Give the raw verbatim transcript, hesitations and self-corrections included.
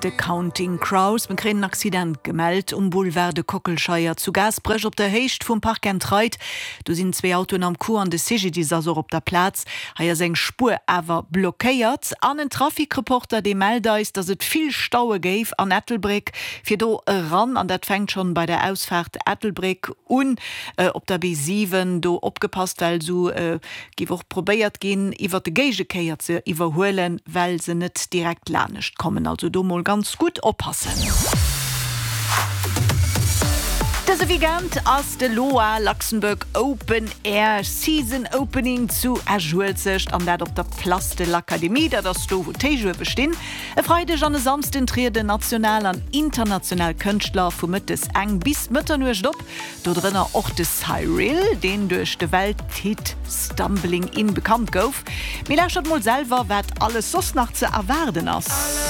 De Counting Crows. Mir kréien en Accident gemellt um Boulevard de Kockelscheier zu Gaasperech op der Héicht vum Park and Ride. Do sinn zwee Autoen am Coup an de CGDIS ass och op der Plaz. Hei ass eng Spuer awer blockéiert. An en Trafikreporter dee mellt eis, dass et vill Staue géif an Ettelbréck fir do eran an dat fänkt schonn bei der Ausfaart Ettelbréck un op der B siwen. Do opgepasst, well sou géif och probéiert ginn iwwer de Géigekéier ze iwwerhuelen, well se net direkt lanescht kommen. Also do mol ganz gutt oppassen. Dëse Weekend ass de LOA, Luxembourg Open Air Season Opening zu Esch-Uelzecht an dat op der Place de l'Académie, dat ass do wou d'Héichuewe stinn. E Freideg an e Samsden trieden national an international Kënschtler vu mëttes eng bis Mëtternuecht op, do drënner och de Cyril, deen duerch de Welthit Stumbling In bekannt gouf. Mee lauschtert mol selwer, wat alles soss nach ze erwaarden ass.